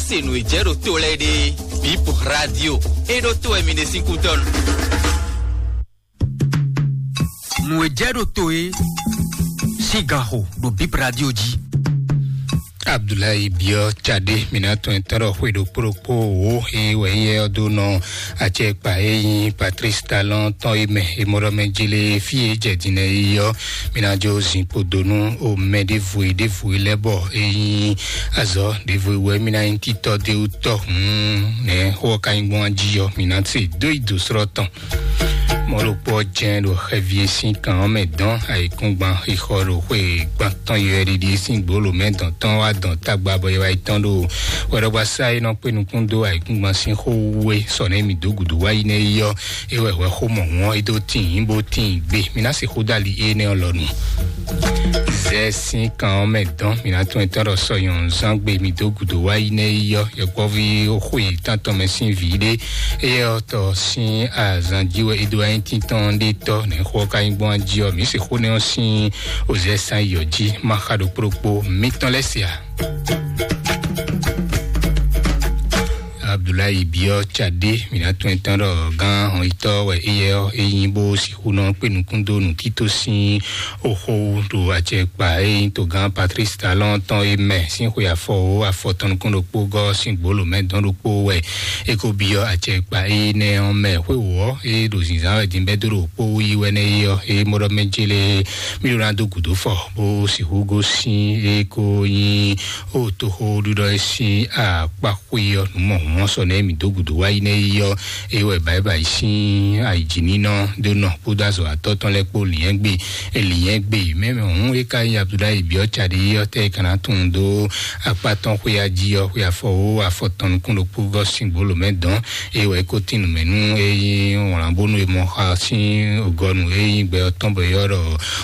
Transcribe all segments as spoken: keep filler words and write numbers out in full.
Se nǔ e jɛ ɖo to lɛ́ɛ ɖe, Bip Radio, e ɖo to wɛ mi ɖe sín kútɔ́ nu. Nǔ e jɛ ɖo to e sín ganxo ɖo Bip Radio jí. Abdulayi Biɔ Tchade, mina tɔn e tɔn ɖɔ xwe ɖokpó ɖokpó wo e wɛ yɛ ɔ́ dó nɔ acɛkpa e nyí Patrice Talon tɔn e mɛ e mɔ ɖɔ mɛ jele fí e jɛ din lɛ yi ɔ́, mi ná jó zinkpo dó nú o mɛ ɖěvo e ɖěvo e lɛ́ bɔ e nyí azɔ̌ ɖěvo e wɛ mi ná nyí títɔ d'é wú tɔ hǔn nɛ̌ xó ɔ́ ka nyí gbɔn jí ɔ́, mi ná se dó yi dǒ slɔ́ tɔn. Mɔ̌ ɖokpó ɔ́ jɛ́n ɖo xɛvi e sín kan ɔ́ mɛ dɔn ayǐkúngban xixɔ ɖo xwe gban tɔn yɔyɔɖiɖi e sín gbǒlǒ mɛ dɔn tɔn wá dɔn tagba bɔ é wá yi tɔn ɖo hwɛɖɔgbasá e nɔ kpé nukún dó ayǐkúngban sín xó wú é sɔ nɛ́ mì dó gǔdo wá yi nɛ́ yi ɔ́, é wɛ hwɛ xó mɔ̌hun ɔ́ é dó tíin bó tíin gbe. Mi ná se xó dali énɛ́ ɔ́ lɔ nu. Zɛ sín kan ɔ́ mɛ dɔn mi ná tún etɔ́ ɖɔ sɔ nyɔ̌nu zán gbe mi dó gǔdo wá yi nɛ́ yi ɔ́, yɔkpɔ́ví xwe tántɔn mɛ sín vǐ ɖé. Éyɛ́ ɔ́ tɔ sín azan jí wɛ é dó wá nyí tíntɔ́n ɖé tɔ́ nɛ̌ xó ɔ́ ka nyí gbɔn jí ɔ́, mǐ se xó nɛ́ ɔ́ sín ozɛ́ sán yi ɔ́ jí má xa ɖokpó ɖokpó mitɔn lɛ́ se ǎ. Abdulayi Biɔ Tchade, mi ná tún etɔ́n ɖɔ gán hɔnyitɔ́ wɛ éyɛ́ ɔ́, é nyí bó sixú nɔ kpé nukún dó nǔtító sín oxó ɖo acɛkpa e nyí togán Patrice Talon tɔn e mɛ sín xwe afɔ o afɔ tɔn nukún ɖokpó gɔ́ sín gbolo mɛ dɔn ɖokpó wɛ. É ko byɔ́ acɛkpa énɛ́ ɔ́ mɛ xwé wǒ ɔ́, é ɖo zǐnzán wɛ din bɛ́ dó ɖo kpó yi wɛ nɛ́ é ɔ́, é mɔ ɖɔ mɛ jélé mí ɖó ná dó gǔdo fɔ bó sixú gosín é ko nyí ó toxóɖiɖɔ é sín akpá xwe ɔ́, nǔ mɔ̌hun ɔ́ sɔ nɛ́ mǐ dó gǔdo wá yi nɛ́ yi ɔ́, é wɛ bǎyibǎyi sín ayǐjínínɔ ɖó nɔ kpódó azɔ̌watɔ́ tɔn lɛ́ɛ kpó lǐnyɛ́gbe lǐnyɛ́gbe mɛ mɛ hǔn é ka nyí Abdulayi Biɔ Cadi ɔ́ tɛ é ka ná tunwun dó akpá tɔn xwéá jí ɔ́, xwe afɔ wó afɔ tɔn nukún ɖokpó gɔ́ sín gbolo mɛ dɔn, é wɛ é ko tín nǔ mɛ nú é nyí wlǎnbónú e mɔ xa sín gɔnu é nyí gbɛ ɔ́ tɔn bɔ é ylɔ́ ɖɔ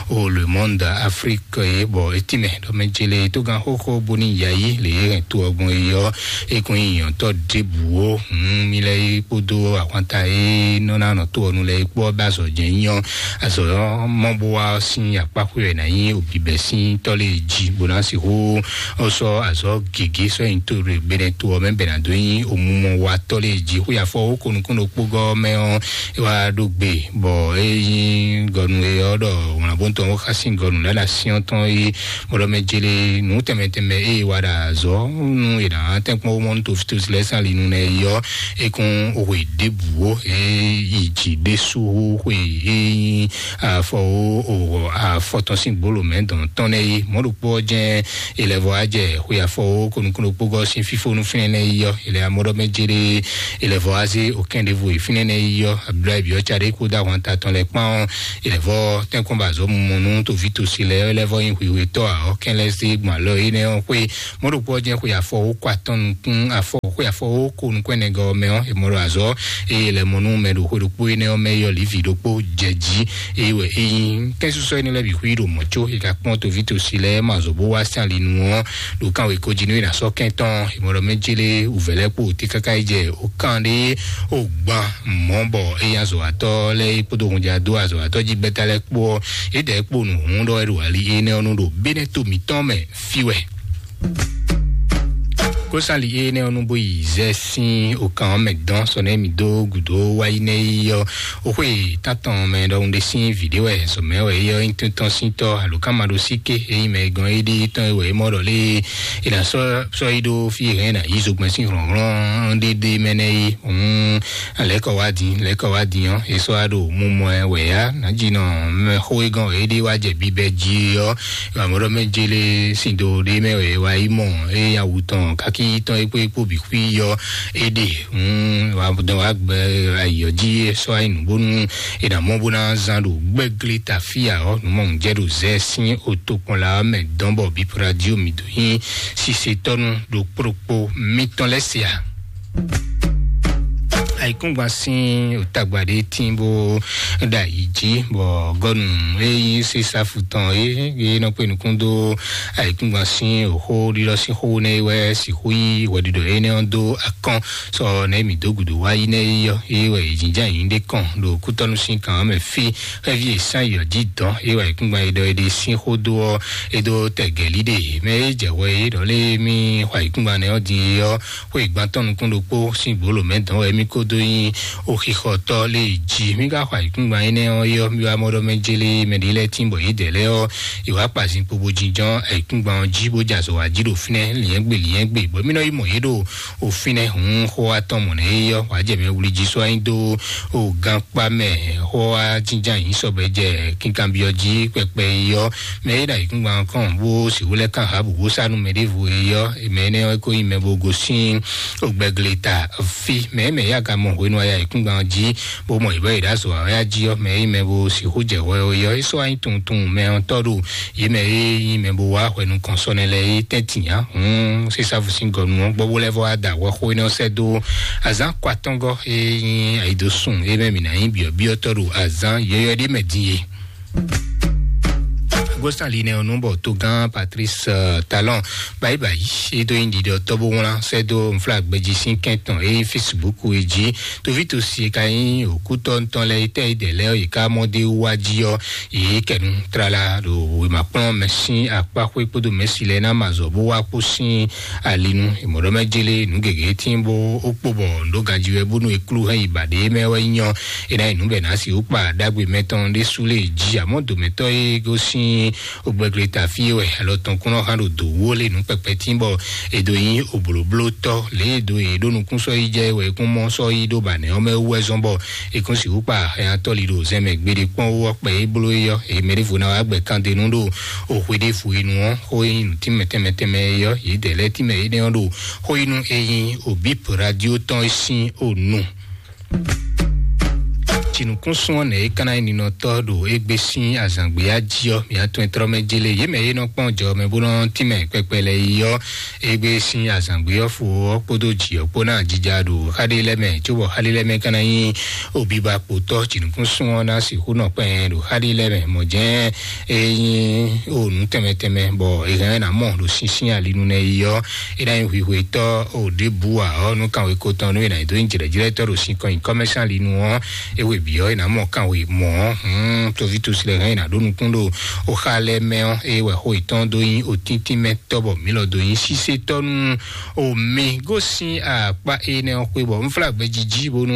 o Le Monde Afrique é, bɔ é tínmɛ ɖɔ mɛ jele tógán xóxó bóní yayí lě e hɛn to ɔ́ gbɔn é ɔ́, é kún nyí nyɔ̌tɔ́ ɖěbǔ ó. Hǔn mi lɛ́ yi kpódó ahwanta e nɔ ná nɔ to ɔ́ nu lɛ́ɛ é kpó ɔ́ bɛ azɔ̌ jɛ́n nyí ɔ́, azɔ̌ ɔ́ mɔ bó wá ɔ́ sín akpá xwé wɛ ná nyí òbíbɛ́ sín tɔ́ lě jí bó ná sixú sɔ́ azɔ̌ gěgé sɔ́ nyi to ɖo Benɛto ɔ́ mɛ bɛ ná dó nyí omumɔ wa tɔ́ lě jí. Xwé afɔ ó ko nukún ɖokpó gɔ́ mɛ ɔ́, é wá ɖó gbe bɔ é nyí gɔnu e ɔ́ ɖɔ wlǎnbóntɔn ó xá sín gɔnu lɛ́ ɖo asyɔ́ tɔn é mɔɖɔmɛ jele nǔ tɛnmɛ tɛnmɛ e wa ɖo azɔ̌ nú è nǎ tɛ́nkpɔ́n wó mɔ nú tofitosi lɛ́ɛ sín ali nu nɛ é ɔ́, é kún hwe ɖěbǔ ó. É yi jǐ ɖésú hú xwe é nyí afɔ ó afɔ tɔn sín gbolo mɛ dɔn tɔn nɛ é. Mɔ̌ ɖokpó ɔ́ jɛ́n è lɛ́ vɔ wá jɛ xwe afɔ ó ko nukún ɖokpó gɔ́ sín fífónú fínɛ́ nɛ é ɔ́, è lɛ́ amɔ́ ɖɔ mɛ jéré è lɛ́ vɔ wá zé okɛ́n ɖěvo e fínɛ́ nɛ é ɔ́, Abdulayi Biɔ Cade kpódó ahwanta tɔn lɛ́ɛ kpán ɔ́, è lɛ́ vɔ tɛ́nkpɔ́n ba azɔ̌ mumɔ nú tovítɔ́ si lɛ́ɛ lɛ́ vɔ nyí hwihwetɔ́ ǎ ɔ́, kɛn lɛ́ zé gbɔn alɔ énɛ́ ɔ́ xwé. Mɔ̌ ɖokpó ɔ́ jɛ́n xwe afɔ ó ko atɔn nukún afɔ xwe afɔ ó ko nukún ɛnɛ gɔ́ ɔ́ mɛ ɔ́, è mɔ ɖo azɔ̌ eye è lɛ́ mɔ nú mɛ ɖo xwe ɖokpó énɛ́ ɔ́ mɛ yi ɔ́ lǐvi ɖokpó jɛ jí. Eye wɛ é nyí kɛ́nsúsú énɛ́ lɛ́ɛ bǐ xwí ɖo mɔ̌ có è ka kpɔ́n tovítɔ́ si lɛ́ɛ mɔ azɔ̌ bó wá sín ali nu ɔ́, ɖo kánwéko jí nú é ná sɔ́ kɛ́n tɔn. È mɔ ɖɔ mɛ jélé wǔvɛ́ lɛ́ɛ kpó wǒté káká yi jɛ ó kán ɖé ó gban mɔ̌ bɔ é nyí azɔ̌watɔ́ lɛ́ɛ é kpódó hunjadó azɔ̌watɔ́ jí gbɛ́ta lɛ́ɛ kpó ɔ́, é ɖɛ̌ kpo nǔ hún ɖɔ wɛ ɖo ali énɛ́ ɔ́ nu ɖo Benɛto mǐtɔn mɛ fí wɛ. Kósali énɛ́ ɔ́ nu bó yi zɛ sín okan ɔ́ mɛ dɔn sɔ nɛ́ mǐ dó gǔdo wá yi nɛ́ yi ɔ́, oxwé tántɔn mɛ ɖɔhun ɖé sín vǐ ɖé wɛ zɔ̌mɛ wɛ é ɔ́ nyí tɔ́n sín tɔ́ alo ká ma ɖo sí ké é nyí mɛ e gɔn é ɖíe tɔn é wɛ é mɔ ɖɔ lé é ná sɔ́ sɔ́ yi ɖó fí e hɛn é ná yí zogbɛ́n sín hlɔ̌nhlɔ́n ɖéɖé mɛ nɛ́ é. Hǔn lɛ̌kɔ wá din lɛ̌kɔ wá din ɔ́, é sɔ́ wá ɖo mumɔ ɛ wɛ yá nǎjínɔ mɛ xó é gɔn wɛ é ɖíe wá jɛ bibɛ jí ɔ́, Amɔ̌ ɖɔ mɛ jélé sín do ɖé mɛ wɛ wa yi mɔ eye awu tɔn kákí tɔn é kpó é kpó bǐ xwí yɔ é ɖe. Wa dɔn wa gbɛ ayǐ ɔ́ jí é sɔ́ ayi nǔ bónú è nǎ mɔ bó ná zán ɖo gbɛ́glé tafíà ɔ́, nǔ mɔ nǔ jɛ ɖo zɛ sín otokpɔn la ɔ́ mɛ dɔn bɔ bípúra jí omi dó nyí sisetɔ́nu ɖo kplokpó mítɔn lɛ́ se a. Ayǐkúngban sín òtagba ɖé tín bó ɖo ayǐ jí, bɔ gɔnu e nyí Sesafu tɔn e e nɔ kpé nukún dó ayǐkúngban sín òxó ɖiɖɔ sín xó nɛ́ é wɛ sixú yí hwɛɖiɖɔ énɛ́ ɔ́ dó akɔn sɔ nɛ́ mǐ dó gǔdo wá yi nɛ́ é yɔ é wɛ è jínjɔ́n ayǐ ɖé kɔn ɖo kútɔ́nú sín kan ɔ́ mɛ fí. Xɛ́ví e sán yɔ jí dɔn é wɛ ayǐkúngban e ɖɔ é ɖe sín xó dó ɔ́, é dó tɛgɛlí ɖe mɛ é jɛ hwɛ é ɖɔ lé mí xɔ ayǐkúngban nɛ́ ɔ́ din é ɔ́, xó ìgbantɔ́ nukún ɖokpó sín gbǒlǒ mɛ dɔn wɛ mí kó dó nyí oxixɔtɔ́ lé jí. Mí ka xɔ ayǐkúngban énɛ́ ɔ́ yɔ mí wá mɔ ɖɔ mɛ jélé mɛ ɖě lɛ́ɛ tín bɔ yědɛɛ lɛ́ɛ ɔ́, è wá kpa zinkpo bó jínjɔ́n ayǐkúngban ɔ́ jí bó jɛ azɔ̌ wá jí ɖo fínɛ́ liɛ́ngbè liɛ́ngbè bɔ mí nɔ yi mɔ yě ɖo o fínɛ́ hǔn xó atɔn mɔ̌ nɛ́ é yɔ wǎ jɛ mɛ wlí jí sɔ́ anyi dó o gankpá mɛ. Xó wá jínjɔ́n ayǐ sɔbɛ jɛ kínkanbyɔ́ jí kpɛkpɛ é yɔ mɛ é ɖo ayǐkúngban kɔn bó sixú lɛ́ kán Ahabu bó sá nú mɛ ɖěvo é yɔ mɛ énɛ́ ɔ́ é kó nyí mɛ bó gosín ogbɛgle ta fí mɛ mɛ ya ka mɔ hwenu aya ayǐkúngban jí bó mɔ ìbá yi ɖo azɔ̌ awɛ́ jí ɔ́ mɛ é nyí mɛ bó sixú jɛ hwɛ ó yɔ é sɔ́ anyi tunwun tunwun mɛ ɔ́ tɔ́ ɖo yě mɛ é nyí mɛ bó wá hwɛ nukɔn sɔ́nɛ lɛ́ɛ é tɛ́ntin ǎ. Hǔn Sesafu sín gɔnu ɔ́ gbɔ bó lɛ́ vɔ wá da hwɛxó énɛ́ ɔ́ sɛ́ dó azǎn kɔ atɔ́ngɔ́ é nyí ayǐdósun é mɛ mǐ ná nyí byɔ̌byɔ́tɔ́ ɖo azǎn yɔ̌yɔ́ ɖé mɛ din é. Gostan linɛ ɔ́ nú bɔ togán Patrice Talon bayi bayi é dó nyi ɖiɖɔ tɔ́ bó wlán sɛ́ dó nflá gbɛjí sín kɛntɔn é Facebook é jí. Toví tosi e ka nyí òkútɔ́ ntɔn lɛ́ɛ é tɛ́ é dɛ lɛ́ɛ ɔ́ yě ká mɔ dé wá jí ɔ́, yě kɛnu tlala ɖo wěmakplɔ́n mɛ sín akpáxwé kpódó mɛ̌si lɛ́ɛ ná ma azɔ̌ bó wá kpó sín ali nu. È mɔ ɖɔ mɛ jélé nǔ gěgé tín bó ó kpo bɔ nǔ ɖó ganjí wɛ bónú è klú hɛn yi ba ɖě mɛ wɛ nyɔ. É ná yi nǔ bɛ ná si wú kpa ɖagbe mɛtɔn ɖésú lé jí àmọ́ dǒmɛtɔ́ e gosín ogbɛgle ta fí é wɛ alɔ tɔn kún nɔ hán ɖo dǒ wó lé nǔ pɛpɛ tín bɔ è dǒ nyí oblǒblótɔ́ lě e dǒ yě ɖó nukún sɔ́ yi jɛ wɛ é kún mɔ sɔ́ yi ɖó ba nɛ̌ ɔ́ mɛ wú wɛ zɔ́n bɔ è kún sixú kpa hɛn atɔ́ li ɖo zɛmɛ gbeɖé kpɔ́n wú ɔ́ kpɛ é bló é yɔ èyí mɛ ɖěvo ná wá gbɛ kán ɖe nú ɖo òxwe ɖěvo é nu ɔ́ xó e nyí nǔ tínmɛ tɛnmɛ tɛnmɛ é yɔ yě dɛ lɛ́ɛ tínmɛ énɛ́ ɔ́ ɖo xó yi nú é nyí òbíp radio tɔn é sín ònu. Jǐnukúnsún ɔ́ nɛ̌ é ka ná nyí ninɔtɔ́ ɖo égbé sín azǎngbéyá jí ɔ́, mǐ atɔn e tlɔ́ mɛ jélé yě mɛ e nɔ kpɔ́n jɔ mɛ bó nɔ tínmɛ kpɛkpɛ lɛ́ɛ yi ɔ́, égbé sín azǎngbé ɔ́ fo ɔ́ kpódó jǐ ɔ́ kpó ná jija ɖo xáɖé lɛ́ɛ mɛ, cóbɔ xáɖé lɛ́ɛ mɛ ka ná nyí obiba kpotɔ́ jǐnukúnsún ɔ́ ná sixú nɔ kpɛn ɖo xáɖé lɛ́ɛ mɛ. Mɔ̌ jɛ́n é nyí o nǔ tɛnmɛ tɛnmɛ bɔ è hɛn ná mɔ ɖo sínsín alinu nɛ yi ɔ́, é ná nyí hwihwetɔ́ o ɖěbǔ ǎ ɔ́, nú kanwekó tɔn nú è nǎ dó nyí jlɛ̌jlɛ́tɔ́ ɖo sin kɔn nyi kɔ́mɛsán linu ɔ́, é we bǐ ɔ́, è nǎ mɔ kanwe mɔ̌ ɔ́, hǔn toví tosi lɛ́ɛ hɛn è nǎ ɖó nukún ɖo o xa lɛ́ɛ mɛ ɔ́, é wɛ xó yětɔn dó nyí otíntín mɛ tɔ́ bɔ mǐ lɔ dó nyí sísétɔ́ nú o mi gosín akpá énɛ́ ɔ́ xwé bɔ un flá gbɛjí jí bónú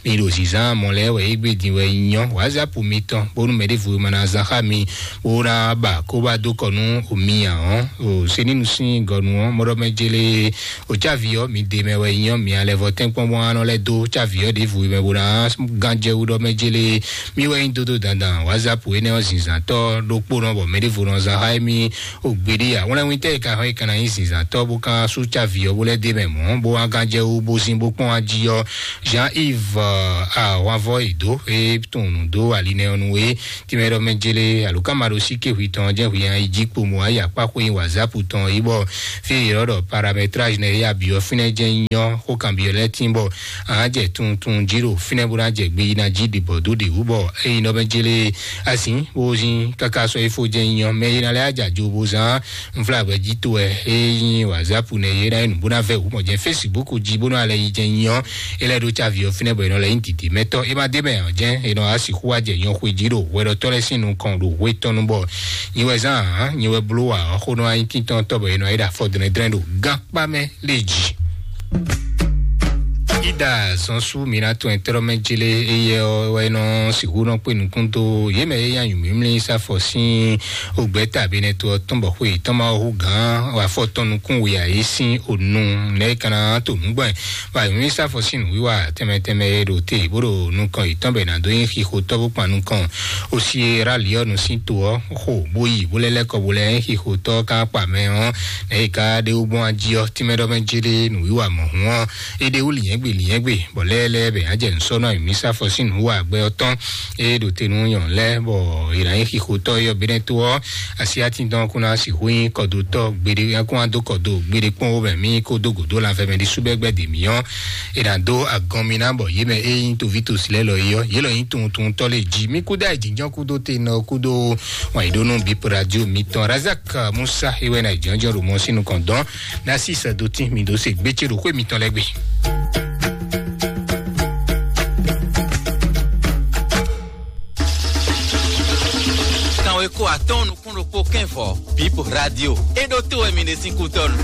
mi ɖo zǐnzán mɔ lɛ́ɛ wɛ é gbé din wɛ nyɔ wǎzápu mitɔn bónú mɛ ɖěvo ma ná zán xá mi bó ná ba kó ba dó kɔ nú o mi ǎ ɔ́, o senínú sín gɔnu ɔ́ mɔɖɔ mɛ jélé o cávi ɔ́ mi de mɛ wɛ nyɔ mi alɛ vɔ tɛ́nkpɔ́n bó ná nɔ lɛ́ dó cávi ɔ́ ɖěvo mɛ bó ná gán jɛ wú ɖɔ mɛ jélé mi wɛ nyí dódó dandan wǎzápu énɛ́ ɔ́ zǐnzǎntɔ́ ɖokpónɔ bɔ mɛ ɖěvo nɔ zán xá émí o gbeɖé ǎ. Wlɛ́nwítɛ́ e ka hɔn e ka ná nyí zǐnzǎntɔ́ bó ka sú cávi ɔ́ bó lɛ́ dé mɛ mɔ̌ bó wá gán jɛ wú bó zín bó kpɔ́n wá jí ɔ́, Jean-Yves ahwanvɔ e dó e tunwun nǔ dó ali nɛ ɔ́ nu é tínmɛ ɖɔ mɛ jélé alo ká ma ɖo sí ké hwi tɔn jẹ́ hwi nyi jí kpo mɔ ayé akpá xwé nyi wǎzápu tɔn yi bɔ fí e yě ɖɔ paramétrage nɛ yá bǐ ɔ́ fínɛ́ jẹ́ nyɔ xó kan bǐ ɔ́ lɛ́ tín bɔ a jɛ tuntun jí ɖo fínɛ́ bó ná jɛ gbe yi ná jí ɖibɔ dó ɖe wú bɔ é nyí ɖɔ mɛ jélé azǐn bó zín káká sɔ́ é fó jẹ́ nyɔ mɛ yi ná lɛ́ ajajo bó zán nfla gbɛ́ jí to wɛ é nyí wǎzápu nɛ yě ná yi nǔ bó ná vɛ wǔ mɔ jɛ Facebook jí bó ná lɛ yi jɛ nyɔ é lɛ́ ɖó cávi ɔ́ fínɛ́ bɔ è nɔ lɛ nyí dǐdí mɛtɔ́ é má dé mɛ ɔ́ jɛ́n è nɔ wá sixú wá jɛ nyɔxwe jí ɖo hwɛɖɔtɔ́ lɛ́ɛ sín nukɔn ɖo hwe tɔn nu bɔ nyi wɛ zán ǎ nyi wɛ bló wǎ ɔ́ xó nɔ wá nyí tíntɔ́ntɔ́ bɔ è nɔ yi ɖo afɔ dlɛ́ndlɛ́n ɖo gán kpá mɛ lé jí. Ida zɔn sú mi ná tɔn ɛtɛrɔ mɛ jele eye wɛ nɔ sixú nɔ kpé nukún dó yé mɛ yé yá nyǔmímlí sáfɔ sín ògbɛ́ta benɛto ɔ́ tɔn bɔ xwe tɔn ma hu gán afɔ tɔn nukún wia yé sín ònu nɛ kana to nǔgbɔn bɔ nyǔmímlí sáfɔ sín nǔwiwa tɛmɛ tɛmɛ e ɖo te bó ɖo nukɔn yětɔn bɛ nǎ dó nyí xixo tɔ́ bó kpan nukɔn osi e rali ɔ́ nu sín to ɔ́ xo bó yi bó lɛ́ lɛ́ kɔ bó lɛ́ nyí xixo tɔ́ ká kpa mɛ ɔ́ nɛ yě ká ɖe wú gbɔn ají ɔ́ tínmɛ ɖɔ mɛ jélé nǔwiwa mɔ̌hun ɔ́ é ɖe wú lǐnyɛ́gbè lǐnyɛ́ Nɛgbé bɔ lɛ́lɛ́ bɛ á jɛ nǔsɔ́nɔ mǐsá fɔ sín nǔ wa gbɛ ɔ́ tɔn. Ée ɖo te nú nyɔ̌nu lɛ́ɛ bɔ è nǎ nyí xixotɔ́ e yɔ Benɛto ɔ́, asi atindɔn kún ná sixú nyí kɔdotɔ́ gbeɖé, kún wá dó kɔdo gbeɖé kpɔ́n wó mɛ mí kó dó gǒdó lanfɛ mɛ ɖésú bɛ́ gbɛ́ dě mǐ ɔ́. È nǎ dó agɔn mì ná bɔ yě mɛ é nyí toví tosi lɛ́ɛ lɔ é ɔ́, yě lɔ nyí tuntunutɔ́ lɛ́ɛ jí. Mí kú dá jǐnjɔ́n kúdó te nɔ kúdó wǎn yí ɖó nú bǐ radio mitɔn Razak Musa é wɛ ná jǐnjɔ́n ɖo mɔ sín nukɔn dɔn. Ná sí sɛ́ dó tín mì dó se gbé ce ɖo xwé mitɔn lɛ́ɛ gbe. Kanwe ko atɔn nukún ɖokpó kɛnvɔ Bip Radio. É ɖó tó wɛ mi ɖe sín kútɔ́nu.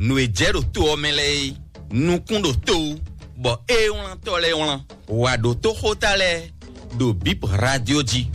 Nǔ e jɛ ɖo to ɔ́ mɛ lɛ́ɛ é, nukún ɖo to wú, bɔ é wlántɔ́ lɛ́ɛ wlán. Wǎ ɖótó xóta lɛ́ɛ ɖo Bip Radio jí.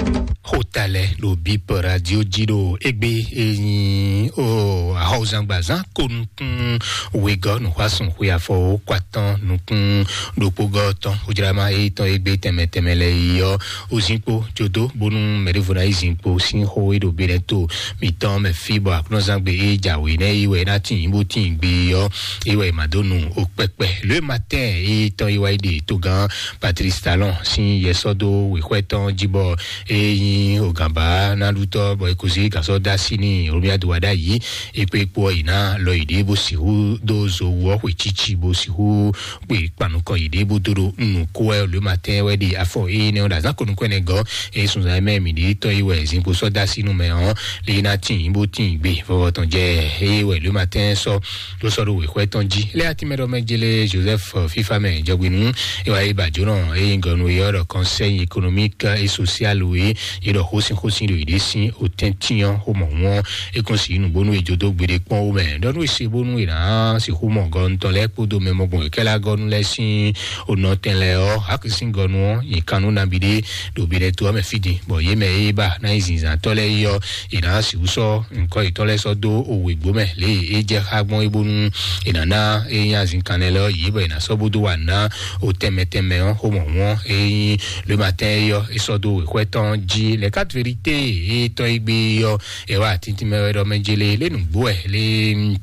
Xóta lɛ́ɛ ɖo Bip Radio jí ɖo égbé e nyí o axɔzángbazán ko nukún wegɔ́ nǔxwásún xwe afɔ kó atɔn nukún ɖokpógɔ́ tɔn xojlama e tɔn égbé tɛnmɛ tɛnmɛ lɛ́ɛ yi ɔ́, o zinkpo jodó bónú mɛɖěvo ná yi zinkpo sín xó e ɖo Benɛto mǐtɔn mɛ fí bɔ aklúnɔzán gbe e jǎwe nɛ́ yi wɛ ná tín bó tín gbe ɔ́, é wɛ è ma dó nu o kpɛkpɛ. Le matin e tɔn yi wá yi ɖe togán Patrice Talon sín yɛsɔ́ dó wěxwɛ́ tɔn jí bɔ é nyí ogǎnbá ná ɖutɔ́ bɔ é kó sí gǎsɔ dó así n'i Romuald Wadagni. É kpé kpó ɔ́ yi ná lɔ yi ɖě bó sixú dó zo wú ɔ́ xwe cíci bó sixú kpé kpanukɔ yi ɖě bó dó ɖo nǔ kó wɛ le matin wɛ ɖe afɔ énɛ́ ɔ́ ɖo azǎn ko nukún ɛnɛ gɔ́. Eye sunzan e mɛ mǐ ɖe tɔn yi wɛ zinkpo sɔ́ dó así nú mɛ ɔ́, lé ná tín bó tín gbe vɔvɔ tɔn jɛ eye wɛ le matin sɔ́ ló sɔ́ ɖo wěxwɛ́ tɔn jí. Lé atín mɛ ɖɔ mɛ jélé Joseph Fífá mɛ jɔgbe nú é wá yi bàjó nɔ eye gɔnu e ɔ́ ɖɔ conseil économique et social wé é ɖɔ xósin xósin ɖo yě ɖe sín òtɛ́ntín ɔ́ xó mɔ̌ wɔn é kún sí nǔgbónú e jodó gbeɖé kpɔ́n wú mɛ ɖɔ nú è se bónú è nǎ sixú mɔ gɔnutɔn lɛ́ɛ kpódó mɛ mɔgbɔn kɛ́lá gɔnu lɛ́ɛ sín onɔtɛn lɛ́ɛ ɔ́, hákisín gɔnu ɔ́ nyi kan nú nabí ɖé ɖo Benɛto ɔ́ mɛ fí din, bɔ yě mɛ e ba ná nyí zinzǎntɔ́ lɛ́ɛ é ɔ́, è nǎ sixú sɔ́ nǔkɔ yětɔn lɛ́ɛ sɔ́ dó owěgbó mɛ lě e é jɛ xá gbɔn é bónú è nǎ ná é nyí azinkan lɛ́ɛ lɛ́ɛ ɔ́ yě, bɔ è nǎ sɔ́ bó dó wa ná o tɛnmɛ tɛnmɛ ɔ́ xó mɔ̌ wɔn é nyí le matin é ɔ́ é sɔ́ dó wěxwɛ́ tɔn jí. Les quatre vérités e tɔn é gbé é ɔ́, è wá tíntín mɛ wɛ ɖɔ mɛ jélé lé nǔgbó wɛ lé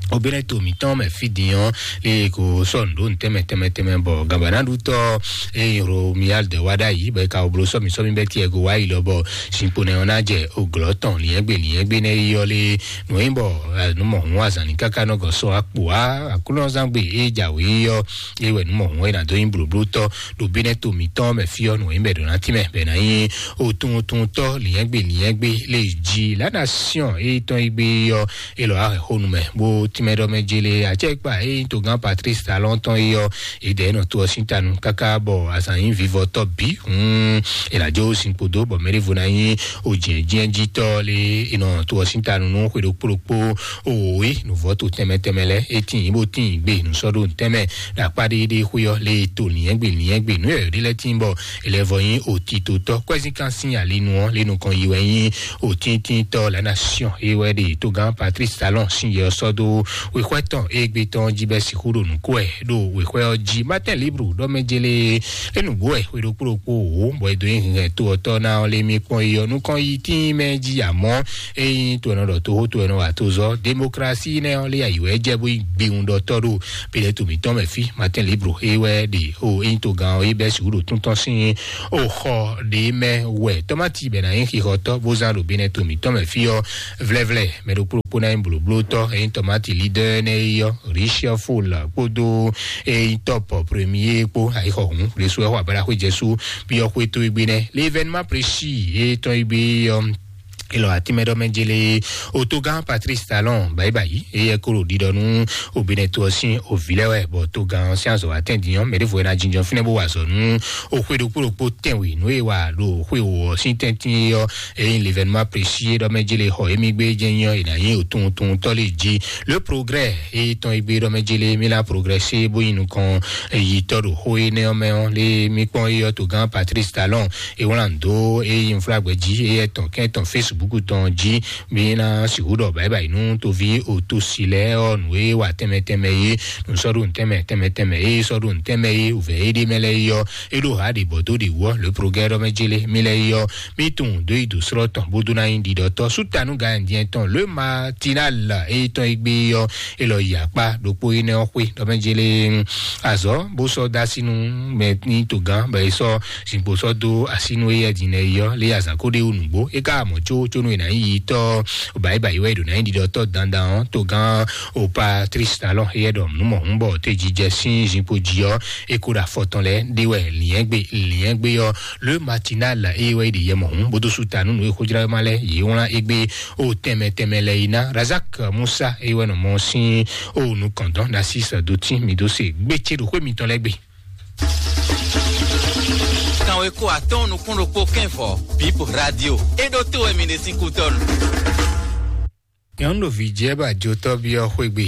obìnrin tó mǐtɔn mɛ fí din ɔ́ lé kò sɔ́ nǔ ɖó nǔ tɛnmɛ tɛnmɛ tɛnmɛ bɔ gǎnbánáɖutɔ́ eye Romuald wá ɖ'ayǐ bɔ è ka wɔ bló sɔ́mi sɔ́mi bɛ́ tiɛ go wá yi lɔ bɔ zinkpo nɛ ɔ́ ná jɛ oglɔ́ tɔn liɛ́ngbé liɛ́ngbé nɛ́ yi ɔ́ lé nǔ nyí bɔ nǔ mɔ̌hun azǎn ní káká nɔ gɔ́ sɔ́ akpo á aklúnɔzán gbe é jǎwe é ɔ́ é wɛ nǔ mɔ̌hun é ná dó nyí blǒblótɔ́ ɖo bínɛ́ to mǐtɔn mɛ fí ɔ́ nǔ nyí bɛ ɖo ná tínmɛ bɛ ná nyí otunwuntunwuntɔ́ liɛ́ngbé liɛ́ngbé lé jí la nation é tɔn yi gbé ɔ́ é lɔ á hɛn xó nu mɛ bó tínmɛ ɖɔ mɛ jélé acɛkpa é nyí togán Patrice Talon tɔn é ɔ́ é dɛ é nɔ to ɔ́ sín tanu káká bɔ azǎn nyí vivɔtɔ́ bǐ hun é ná jó sin kpodó bɔ mɛɖěvo ná nyí ojǐɛ́jínɛ́jítɔ́ lé é nɔ to ɔ́ sín tanu nú xwe ɖokpó ɖokpó owó é nǔvɔ́ to tɛnmɛ tɛnmɛ lɛ́ɛ é tíin bó tíin gbe nǔsɔ́ɖó tɛnmɛ ɖo akpá ɖéɖé xwé ɔ́ lé to liɛ́ngbé liɛ́ngbé nǔ yɔ̌yɔ́ ɖé lɛ́ɛ tíin bɔ é lɛ́ vɔ nyí òtítotɔ́ kwɛ́zínkan sín alinu ɔ́ lé nukɔn yi wɛ nyí òtíntítɔ́ la nation é wɛ ɖe togán Patrice Talon sín yɛ ɔ́ sɔ́ dó wěxwɛ́ tɔn égbé tɔn jí bɛ́ sixú ɖo nǔ kó wɛ ɖo wěxwɛ́ ɔ́ jí. Martin Libre ɖɔ mɛ jélé é nǔgbó wɛ xwe ɖokpó ɖokpó wǒ bɔ é dó nyi hɛn to ɔ́ tɔ́ ná ɔ́ lé mí kpɔ́n yi ɔ́ nukɔn yi tíin mɛ jí amɔ́ é nyí to ɛnɔ ɖɔ toxó to ɛnɔ wa to zɔ démocratie nɛ ɔ́ lé ayi wɛ jɛ bó yi gbewun ɖɔ tɔ́ ɖo Pilato mǐtɔn mɛ fí. Martin Libre é wɛ ɖe o é nyí togán ɔ́ é bɛ́ sixú ɖo tún tɔn sín o xɔ ɖě mɛ wɛ tɔ́mati bɛ ná nyí xixɔtɔ́ bó zán ɖo Pilato mǐtɔn mɛ fí ɔ́ vlɛ́vlɛ́ mɛ ɖokpó ɖokpó ná nyí blǒblótɔ́ é nyí tɔ́mati leader nɛ é yɔ Richard Foul kpódó é nyí top premier kpó ayixɔhún ɖésú ɛ xɔ abala xwé jɛsú byɔ́ xwé tó égbé nɛ l'événement précis é tɔn égbé ɔ́. Ilɔ atimɛɖɔmɛ jele otogán Patrice Talon bayibayi eye koro ɖiɖɔ nú obinɛto ɔ́ sín òvi lɛ́ wɛ bɔ togán ɔ́ sín azɔ atɛ́ndínyɔ́ mɛ ɖěvo e ná jínjɔ́n fínɛ́ bó wa azɔ̌ nú oxwe ɖokpó ɖokpó tɛnwe nú e wa ɖo xwe wò ɔ́ sín tɛ́ntin é ɔ́. Eye l'événement précis ɖɔ mɛ jele xɔ émí gbé jẹ́ nyɔ è nǎ nyí òtunwuntunwuntɔ́ lé jí. Le progrès eye tɔn e gbé ɖɔ mɛ jele mí lá progrès bó yi nukɔn yitɔ́ ɖo xó énɛ́ ɔ́ mɛ ɔ́ lé mí kpɔ́n é ɔ́ togán Patrice Talon e wlán dó e yi nflá gbɛ́ jí eye tɔn kɛn tɔn Facebook Facebook tɔn jí. Mi ná sixú ɖɔ báyìí báyìí nú toví òtúnsi lɛ́ɛ ɔ́, nǔ e wa tɛnmɛ tɛnmɛ é, nǔ sɔ́ ɖo nǔ tɛnmɛ tɛnmɛ tɛnmɛ é, sɔ́ ɖo nǔ tɛnmɛ é, wǔvɛ́ é ɖé mɛ lɛ́ɛ é ɔ́, é ɖo hǎ ɖě bɔ dó ɖě wú ɔ́, lě progrɛ́ ɖɔ mɛ jélé mì lɛ́ɛ é ɔ́, mì tunwun dó yi dǒ slɔ́ tɔn bó dó ná nyí ɖiɖɔtɔ́. Sútanu Gayandiyɛn tɔn lě Matinal é tɔn é gbé é ɔ́, é lɔ yi akpá ɖokpó énɛ́ ɔ́ xwé ɖɔ mɛ jélé azɔ̌ bó sɔ́ dó así nú mɛ ní togán bɔ é sɔ́ zinkpo sɔ́ dó así nú éyɛ́ din lɛ́ɛ é ɔ́, lě azǎn ko ɖé wú nǔgbó. É ka mɔ có có nú è nǎ nyí yitɔ́ bǎyibǎyi wɛ è ɖǒ ná nyí ɖiɖɔtɔ́ dandan ɔ́, togán o Patrice Talon éyɛ́ ɖɔ nǔ mɔ̌hun bɔ tejijɛ sín zinkpo jí ɔ́, é ko ɖo afɔ tɔn lɛ́ɛ ɖé wɛ lǐnyɛ́gbe lǐnyɛ́gbe ɔ́, Le Matinal é wɛ é ɖe yɛ mɔ̌hun bó dó sú ta nú nǔ e xójlá ma lɛ́ɛ yě wlán égbé o tɛnmɛ tɛnmɛ lɛ́ɛ yi ná. Razak Musa é wɛ nɔ mɔ sín o nukɔn dɔn ná sí sɛdó tín mi dó se gbé ce ɖo xwé mitɔn lɛ́ɛ gbe. Kanweko atɔ́ɔ́n nukún ɖokpó kɛ́nvɔ, Bip Radio. É ɖótó wɛ mi ɖe sín kútɔ́nu. Nyɔ̌nu ɖo vǐ jɛ bɔ ajotɔ́ byɔ́ xwé gbe.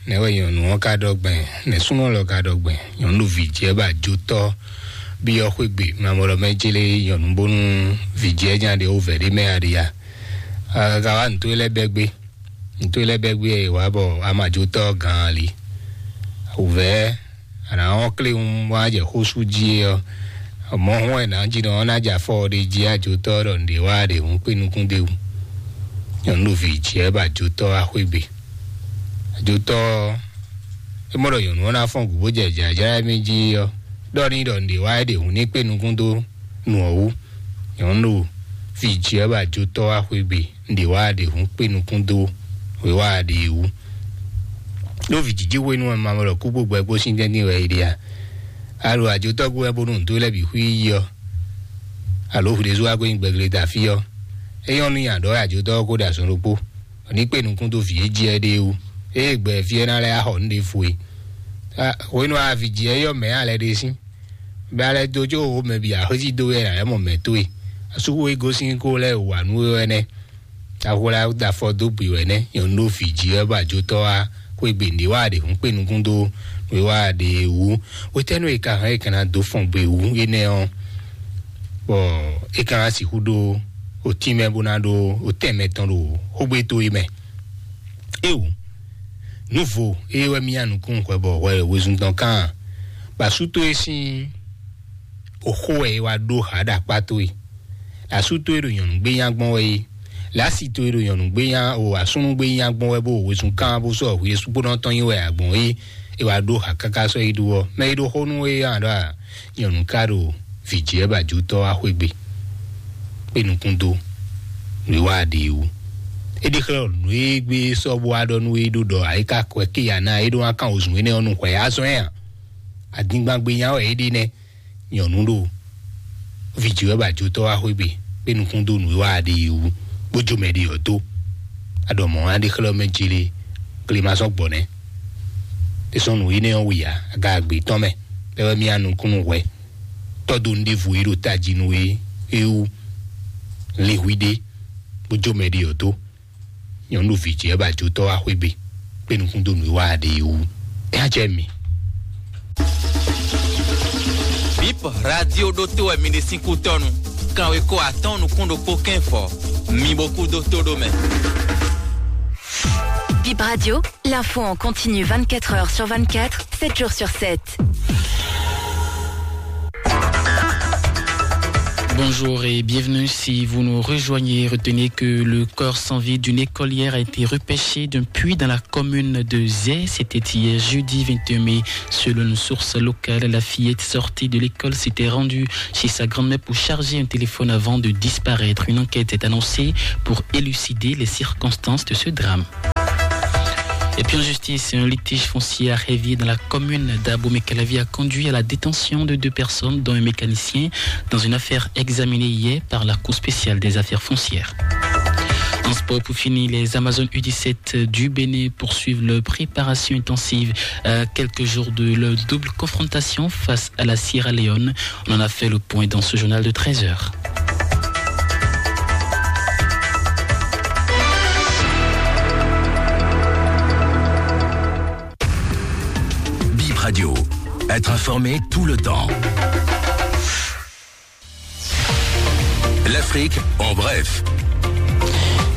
Nɛ̌ wɛ nyɔ̌nu ɔ́ ka ɖɔ gbɛn? Nɛ̌ súnnu lɔ ka ɖɔ gbɛn? Nyɔ̌nu ɖo vǐ jɛ bɔ ajotɔ́ byɔ́ xwé gbe. Mamɔlɔ mɛ jélé nyɔ̌nu bónú vǐ jɛ nya ɖe wó vɛ̌ ɖé mɛ aɖia. Ka wá nǔtó lɛ́ɛ bɛ́ gbé. Nǔtó lɛ́ɛ bɛ́ gbé ɛ wá bɔ amajotɔ́ gán ali. Wǔvɛ́ a nǎ wɔ́n kléwún bó ná jɛ xó sú jí é ɔ́, mɔ̌ hɔn wɛ nǎ jí nɔ ɔ́ ná jɛ afɔ ɖé jí ajotɔ́ ɖɔ nǔɖé wá ɖě hǔn kpé nukún d'é wú. Nyɔ̌nu ɖo vǐ jí wɛ bɔ ajotɔ́ wá xwé gbe. Ajotɔ́ ɔ́, é mɔ ɖɔ nyɔ̌nu ɔ́ ná fɔ́n gǔ bó jɛ jǎjlá émí jí ɔ́, ɖɔ n'i ɖɔ nǔɖé wá ɖě hǔn ní kpé nukún dó nu ɔ́ wú. Nyɔ̌nu ɖo vǐ jí wɛ bɔ ajotɔ́ wá xwé gbe. Nɖe wá ɖe hǔn kpé nukún dó wěwá ɖe wú. Ɖó vǐ jiji hwenu ɔ́, ma mɔ ɖɔ kú kpó gbɛ kpó sín tɛ́ntin wɛ è ɖe a? Alo ajotɔ́ kú wɛ bónú nǔ dó lɛ́ɛ bǐ xwí yi ɔ́, alo hwi ɖésú wá kó nyí gbɛgle da fí ɔ́, é nyɔ́ nú nyi aɖɔ̌ ajotɔ́ ɔ́ kó ɖo azɔn ɖokpó, bɔ ní kpé nukún dó vǐ e jí ɛ ɖe wú. Ée gbɛ fí ɛ ná lɛ́ axɔ nǔ ɖěvo e. Hwenu a vǐ jí ɛ yɔ mɛ̌ a lɛ ɖe sín? Bɛ a lɛ dó có wǒ mɛ bǐ axwésí dó wɛ a lɛ́ mɔ mɛ towe. Asúxu e gosín kó lɛ́ wǎ nú we wɛ nɛ́. Ahwla da afɔ dó gbe wɛ nɛ́, nyɔ̌nu ɖo vǐ jí wɛ bɔ ajotɔ́ wá xwé gbe nǔɖé wá ɖě hǔn kpé nukún dó nǔɖé wá ɖě wú. Hwetɛ́nu e ka hɛn e ka ná dó fɔn gbe wú énɛ́ ɔ́, bɔ é ka ná sixú ɖó otínmɛ bó ná ɖó otɛn mɛtɔn ɖo xógbé towe mɛ. Éwú, nǔvo é wɛ mì nyi nukún hwɛ bɔ hwɛ wezun tɔn kán, bɔ asú towe sín oxó wɛ é wá ɖó hǎ ɖo akpá towe. Asú towe ɖo nyɔ̌nu gbé nya gbɔn wɛ é. Lǎsi towe ɖo nyɔ̌nu gbé nya o asúnú gbé nya gbɔn wɛ bó wezun kán bó sɔ́ hwi e sukpónɔ tɔn nyi wɛ agbɔn é. É wá ɖó hǎ káká sɔ́ yi ɖu ɔ́, mɛ e ɖo xó nú é ɔ́ ɖɔ a? Nyɔ̌nu ka ɖo vǐ jí wɛ bɔ ajotɔ́ wá xwé gbe. Kpé nukún dó nǔ e wá ɖe wú. É ɖi xlɛ́ nǔ e gbé sɔ́ bó wá ɖɔ nú é ɖó ɖɔ ayika kwɛ ké ya ná é ɖó wá kán wozun énɛ́ ɔ́ nú hwɛ azɔn ɛ a? Adingban gbe nya wɛ é ɖe nɛ́. Nyɔ̌nu ɖo vǐ jí wɛ bɔ ajotɔ́ wá xwé gbe, kpé nukún dó nǔ e wá ɖe yi wú, bó jó mɛ ɖe ɔ́ dó. Aɖɔ mɔ̌ wá ɖe xlɛ́ mɛ jlé, klémasɔ́ gbɔ nɛ́. È sɔ́ nǔ énɛ́ ɔ́ wǐ ǎ, aga agbe tɔn mɛ, bɛ́ wɛ mì nyi nukún nú hwɛ. Tɔ́ dó nǔɖévo e ɖo tají nú we é wú, lin hwi ɖé, bó jó mɛ ɖe ɔ́ dó. Nyɔ̌nu ɖo vǐ jí wɛ bɔ ajotɔ́ wá xwé gbe, kpé nukún dó nǔ e wá ɖe yi wú. É á jɛ mi. Bip Radio ɖótó wɛ mi ɖe sín kútɔ́nu. Kanweko atɔ́ɔ́n nukún ɖokpó kɛ́nfɔ. Mi bo kú dó tó ɖó mɛ. Bip Radio, l'info en continu vingt-quatre heures sur vingt-quatre, sept jours sur sept. Bonjour et bienvenue. Si vous nous rejoignez, retenez que le corps sans vie d'une écolière a été repêché d'un puits dans la commune de Zé. C'était hier jeudi vingt-deux mai. Selon une source locale, la fillette sortie de l'école s'était rendue chez sa grand-mère pour charger un téléphone avant de disparaître. Une enquête est annoncée pour élucider les circonstances de ce drame. Et puis en justice, un litige foncier à Révier dans la commune d'Abomey-Calavi a conduit à la détention de deux personnes, dont un mécanicien, dans une affaire examinée hier par la Cour spéciale des affaires foncières. En sport, pour finir, les Amazones U dix-sept du Bénin poursuivent leur préparation intensive à quelques jours de leur double confrontation face à la Sierra Leone. On en a fait le point dans ce journal de treize heures. Bip Radio, être informé tout le temps. L'Afrique en bref.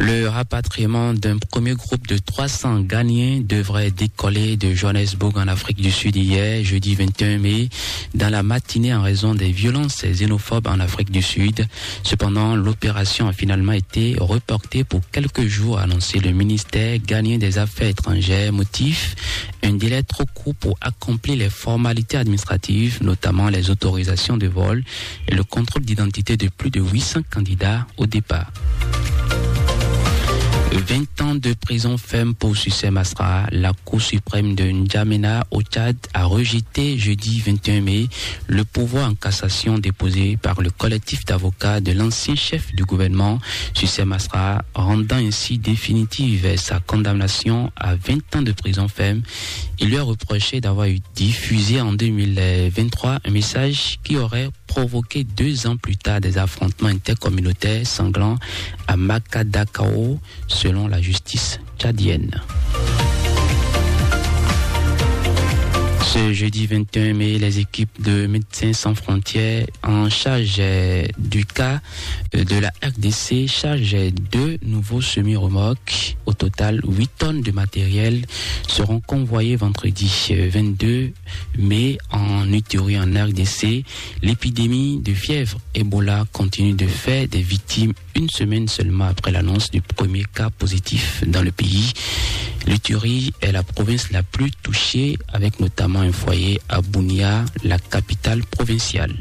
Le rapatriement d'un premier groupe de trois cents Ghanéens devrait décoller de Johannesburg en Afrique du Sud hier, jeudi vingt et un mai, dans la matinée en raison des violences xénophobes en Afrique du Sud. Cependant, l'opération a finalement été reportée pour quelques jours, a annoncé le ministère ghanéen des Affaires étrangères. Motif, un délai trop court pour accomplir les formalités administratives, notamment les autorisations de vol et le contrôle d'identité de plus de huit cents candidats au départ. Vingt ans de prison ferme pour Sucé Masra. La Cour suprême de N'Djamena au Tchad a rejeté jeudi vingt et un mai le pourvoi en cassation déposé par le collectif d'avocats de l'ancien chef du gouvernement, Sucé Masra, rendant ainsi définitive sa condamnation à vingt ans de prison ferme. Il lui est reproché d'avoir eu diffusé en deux mille vingt-trois un message qui aurait provoqué deux ans plus tard des affrontements intercommunautaires sanglants à Makadakao, selon la justice tchadienne. Ce jeudi vingt et un mai, les équipes de Médecins sans frontières en charge, euh, du cas, euh, de la R D C chargent deux nouveaux semi-remorques. Au total, huit tonnes de matériel seront convoyées vendredi, euh, vingt-deux mai en Ituri en R D C. L'épidémie de fièvre Ebola continue de faire des victimes une semaine seulement après l'annonce du premier cas positif dans le pays. L'Ituri est la province la plus touchée, avec notamment un foyer à Bunia, la capitale provinciale.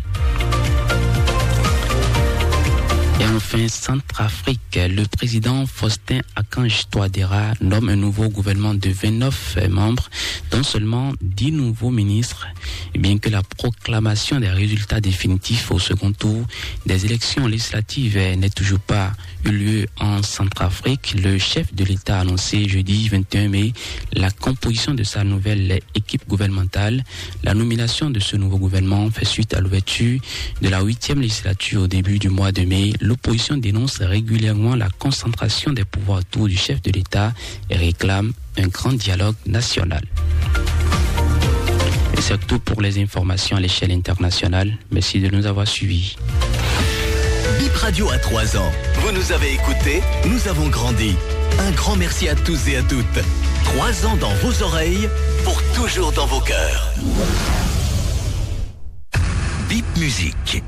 Et enfin, Centrafrique, le président Faustin Archange Touadéra nomme un nouveau gouvernement de vingt-neuf membres, dont seulement dix nouveaux ministres, et bien que la proclamation des résultats définitifs au second tour des élections législatives n'ait toujours pas eu lieu en Centrafrique. Le chef de l'État a annoncé jeudi vingt et un mai la composition de sa nouvelle équipe gouvernementale. La nomination de ce nouveau gouvernement fait suite à l'ouverture de la huitième législature au début du mois de mai. L'opposition dénonce régulièrement la concentration des pouvoirs autour du chef de l'État et réclame un grand dialogue national. Et c'est tout pour les informations à l'échelle internationale. Merci de nous avoir suivis. Bip Radio a trois ans. Vous nous avez écoutés, nous avons grandi. Un grand merci à tous et à toutes. Trois ans dans vos oreilles, pour toujours dans vos cœurs. Bip Musique.